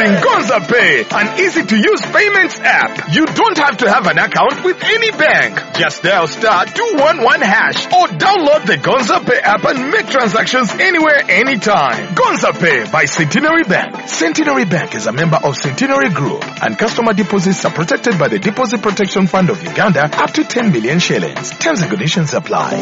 Introducing Gonza Pay, an easy-to-use payments app. You don't have to have an account with any bank. Just dial *211# or download the Gonza Pay app and make transactions anywhere, anytime. Gonza Pay by Centenary Bank. Centenary Bank is a member of Centenary Group, and customer deposits are protected by the Deposit Protection Fund of Uganda up to 10 million shillings. Terms and conditions apply.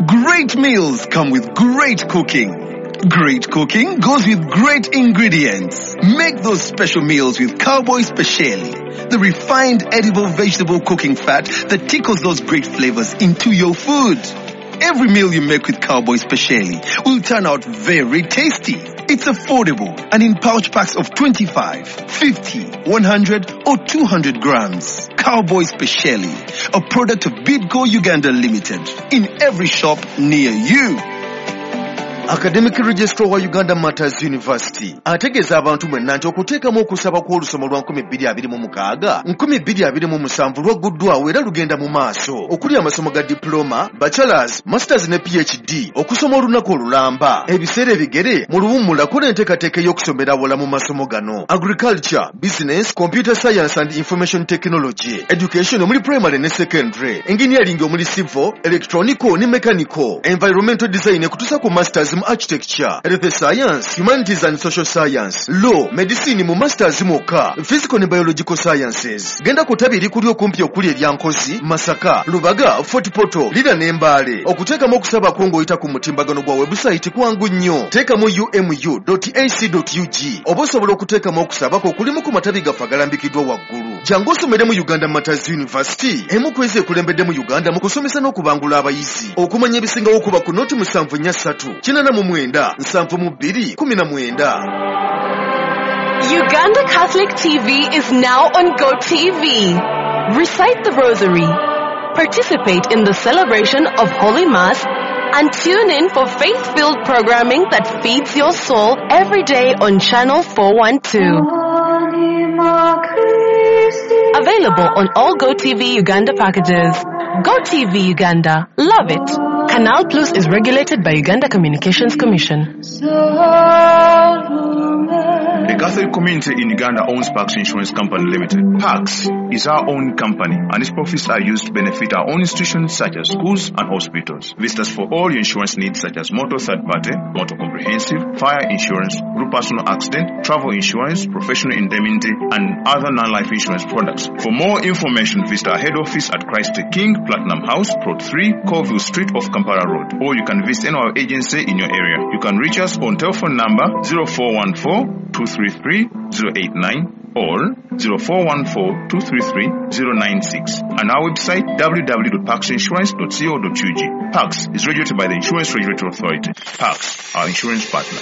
Great meals come with great cooking. Great cooking goes with great ingredients. Make those special meals with Cowboy Speciale, the refined edible vegetable cooking fat that tickles those great flavors into your food. Every meal you make with Cowboy Speciale will turn out very tasty. It's affordable and in pouch packs of 25, 50, 100 or 200 grams. Cowboy Speciale, a product of Bidco Uganda Limited, in every shop near you. Academic Registrar wa Uganda Martyrs University ategeeza abantu mwenna nti okuteekamu okusaba kw'olusoma lwa 2026 2027 lwagguddwawo era lugenda mu maaso, okuli amasomo ga diploma, bachelors, masters ne PhD, okusoma olunaku olulamba, ebiseera ebigere mu luwummula. Kola enteekateeka ey'okusomera awala mu masomo gano: agriculture, business, computer science and information technology, education omuli primary ne secondary, engineering omuli civil, electronical ne mechanical, environmental design ekutuusa ku masters mu architecture, health science, humanities and social science, law, medicine mu masters mwokka, physical ne biological sciences. Genda ku ttabi erikuli okumpi okuli erya Nkozi, Masaka, Lubaga, Fort Portal, Lira ne Mbale. Okuteekamu okusaba kwo ng'oyita ku mutimbagano gwa website kwangu nnyo. Teekamu umu.ac.ug oba osobola okuteekamu okusaba kwo okulimu ku matabi gaffe agalambikiddwa waggulu. Jangu osomere mu Uganda Martyrs University, emu ku ezo ekulembedde mu Uganda mu kusomesa n'okubangula abayizi. Okumanya ebisingawo kuba ku 0743 89 72 19. Uganda Catholic TV is now on GoTV. Recite the Rosary, participate in the celebration of Holy Mass, and tune in for faith-filled programming that feeds your soul every day on Channel 412. Available on all GoTV Uganda packages. GoTV Uganda. Love it. Canal Plus is regulated by Uganda Communications Commission. The Catholic community in Uganda owns Pax Insurance Company Limited. Pax is our own company, and its profits are used to benefit our own institutions such as schools and hospitals. Visit us for all your insurance needs such as motor third party, motor comprehensive, fire insurance, group personal accident, travel insurance, professional indemnity, and other non-life insurance products. For more information, visit our head office at Christ the King, Platinum House, Plot 3, Colville Street off Kampala Road, or you can visit any of our agency in your area. You can reach us on telephone number 0414 233 089 or 0414 233 096 and our website www.paxinsurance.co.ug. Pax is regulated by the Insurance Regulatory Authority. Pax, our insurance partner.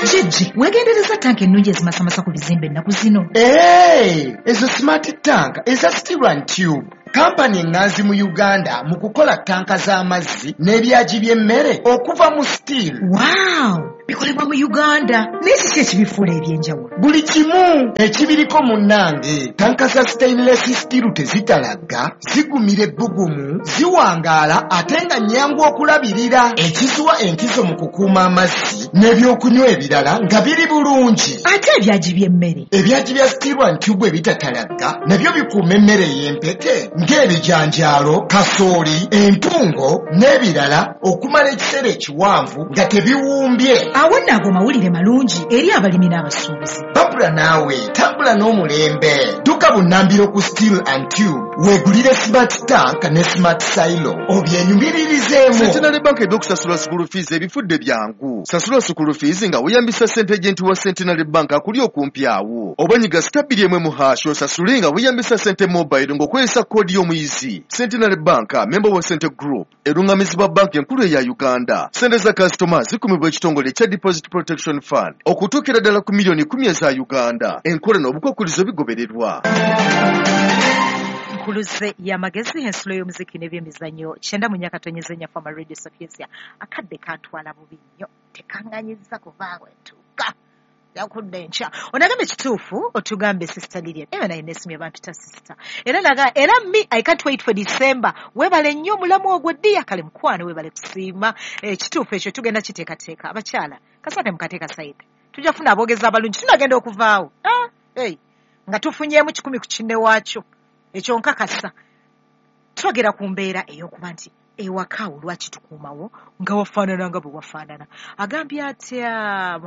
Jjejje, weegendereza tanka ennungi ezimasamasa ku bizimbe ennaku zino. Hey, ezo smart tank eza Steel and Tube, kampani eŋŋanzi mu Uganda mu kukola tanka z'amazzi n'ebyagi by'emmere okuva mu steel. Wow, bikolebwa mu Uganda, naye kiki ekibifuula ebyenjawulo? Buli kimu ekibiriko munnange. Tanka za stainless steel tezitalagga, zigumira ebbugumu, ziwangaala ate nga nnyangu okulabirira, ekiziwa enkizo mu kukuuma amazzi n'ebyokunywa ebirala nga biri bulungi. Ate ebyagi by'emmere? Ebyagi bya Steel and Tube ebitatalagga nabyo bikuuma emmere ey'empeke ng'ebijanjaalo, kasooli, entungo n'ebirala okumala ekiseera ekiwanvu nga tebiwumbye. Awo nno ago mawulire malungi eri abalimi n'abasuubuzi. Babula naawe tambula n'omulembe. Dduka bunnambiro ku Steel and Tube weegulire smart tank ne smart silo obyenyumiririzeemu. Centenary Bank ebyokusasula school fees ebifudde byangu. Sasula school fees nga weeyambisa sente agent wa Centenary Bank akuli okumpi awo, oba nyiga *2 1# osasule nga weeyambisa sente mobile ng'okozesa koodi y'omuyizi. Centenary Bank, member wa Sente Group, erungamizibwa banka enkulu eya Uganda. Sente za kasitoma zikumibwa ekitongole ekya Deposit Protection Fund okutuukira ddala ku miliyoni 10 eza Uganda. Enkola n'obukwakkulizo bigobererwa. Nkuluze y'amagezi, ensulo y'omuziki n'ebyemizannyo, 94.4 Fama Radio Sapientia. Akadde kantwala bubi nnyo, tekaŋŋanyiza kuvaawo entuuka yakudda enkya. Onagambe ekituufu, otugambe Sister Lilian era naye nesimye bampita sister era naga era me, I can't wait for December. Weebale nnyo omulamu ogwo ddiya. Kale mukwano, weebale kusiima. Ekituufu ekyo tugenda kiteekateeka. Abakyala kasate mukateeka side. Tujja kufuna aboogezi abalungi, tunagenda okuvaawo nga tufunyeemu 10 ku kinne waakyo. Ekyo nkakasa. Twogera ku mbeera ey'okuba nti ewaka awo lwaki tukuumawo nga wafaanana nga bwe wafaanana. Agambye atya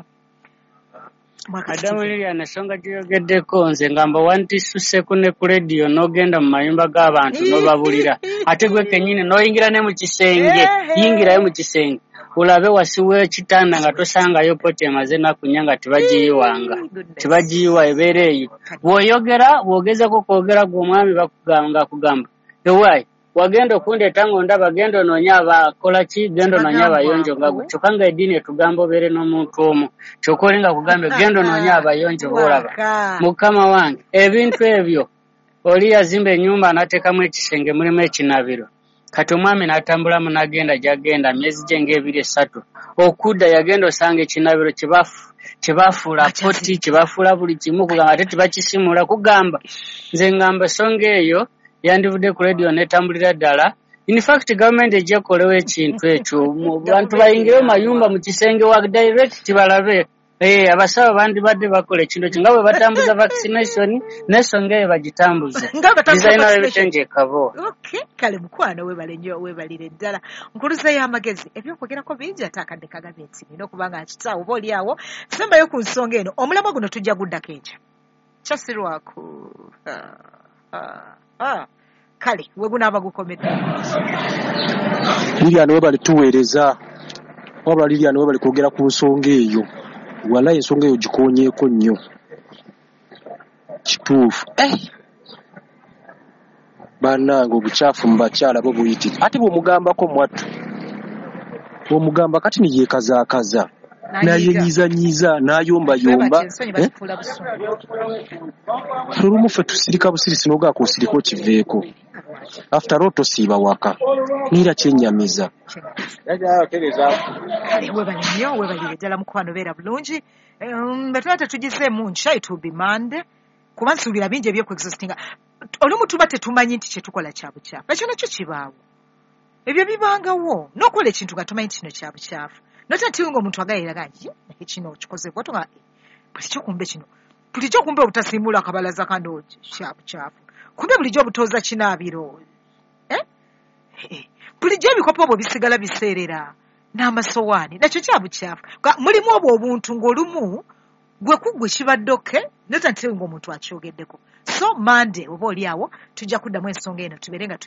Madamu Lilian, ensonga gy'oyogeddeko nze ngamba wantissuseeko ne ku rediyo n'ogenda mu mayumba g'abantu n'obabulira, ate gwe kennyini n'oyingira ne mu kisenge, yingirayo mu kisenge olabe wasi w'ekitanda nga tosangayo poti emaze ennaku nnya nga tebagiyiwanga, tebagiyiwa ebeera eyo. Bw'oyogera bw'ogezaako kwogera gwe omwami bakugamba kugamba ewaayi wagenda okundeeta ng'ondaba, genda onoonye abakola ki, genda onoonye abayonjo nga gwe. Kyokka nga eddiini etugamba obeere n'omuntu omu, kyokka oli nga kugambe genda onoonye abayonjo b'olaba. Mukama wange, ebintu ebyo oli yazimba ennyumba n'ateekamu ekisenge mulimu ekinaabiro. Kati omwami n'atambulamu n'agenda gy'agenda myezi gye ng'ebiri esatu, okudda yagenda osanga ekinaabiro kyebafuula poti, kyebafuula buli kimu, kugamba ate tebakisimula. Kugamba nze ngamba ensonga eyo yandivudde ku rediyo n'etambulira ddala. In fact gavumenti ejja ekolewo ekintu ekyo, bantu bayingire mu mayumba mu kisenge wa direct balabe. Abasawo bandibadde bakola ekintu ekyo nga bwe batambuza vaccination n'ensonga eyo bagitambuze. Designer w'ebitengi e Kabo. Okay, kale mukwano weebale nnyo, weebalire ddala. Nkuluza y'amagezi, ebyokwogerako bingi ate akadde kagabye nti nina okuba nga nkitaawo oba oli awo. Sembayo ku nsonga eno, omulamwa guno tujja guddako enkya. Kyasirwako. Kale we gunaaba gukomedde. Lilian webale tuweereza, wabula Lilian webale kwogera ku nsonga eyo. Walayi ensonga eyo gikoonyeeko nnyo. Kituufu. Bannange obukyafu mu bakyala bo buyitirivu. Ate bw'omugambako mwattu, bw'omugamba kati ne yeekazaakaza, n'ayenyiizanyiiza, n'ayombayomba. Olumu ffe tusirika busirisi n'ogaako osirika okiveeko. After all tosiiba waka. Neera kyennyamiza. Kale weebale nnyo, weebalire ddala mukwano, beera bulungi. Bwe tuba tetugizeemu nkya, it will be Monday. Kuba nsuubira bingi eby'okuexhaustinga. Olumu tuba tetumanyi nti kye tukola kya bukyafu. Ekyo nakyo kibaawo. Ebyo bibangawo. N'okola ekintu nga tomanyi nti kino kya bukyafu. Notya nti ng'omuntu agayiraga nti kino okikoze bw'otyo nga bulijjo kumbe kino. Bulijjo kumbe obutasiimuula akabalaza kano kya bukyafu. Kumbe bulijjo obutooza kinaabiro. Bulijjo ebikopo obwo bisigala biseerera n'amasowaani, nakyo kya bukyafu. Mulimu obwo obuntu ng'olumu gwe ku gwe kibadde okay, notya nti ng'omuntu akyogeddeko. So Monday oba oli awo tujja kuddamu ensonga eno tubeere nga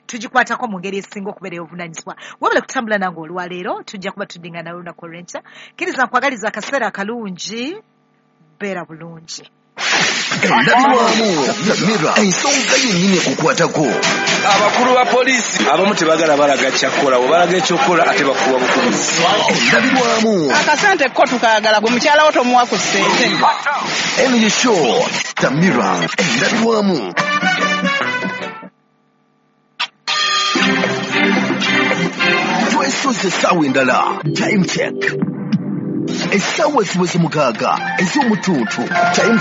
tugikwatako mu ngeri esinga okubeera ey'obuvunaanyizibwa. Wabula kutambula nange olwaleero, tujja kuba tuddingana olunaku olw'enkya. Kkiriza nkwagaliza akaseera akalungi, beera bulungi. Endabirwamu Samira, ensonga yennyini ekukwatako. Abakulu ba poliisi abamu tebagala balaga kyakukola, bwe balaga ekyokukola ate bakuwa bukubizi. Endabirwamu. Akasente ko tukaagala, gwe mukyala wo tomuwa ku ssente. Eno ye show Samira, endabirwamu. Twesoze essaawa endala. Time check. Essaawa ziweze 6 ez'omutuntu. Time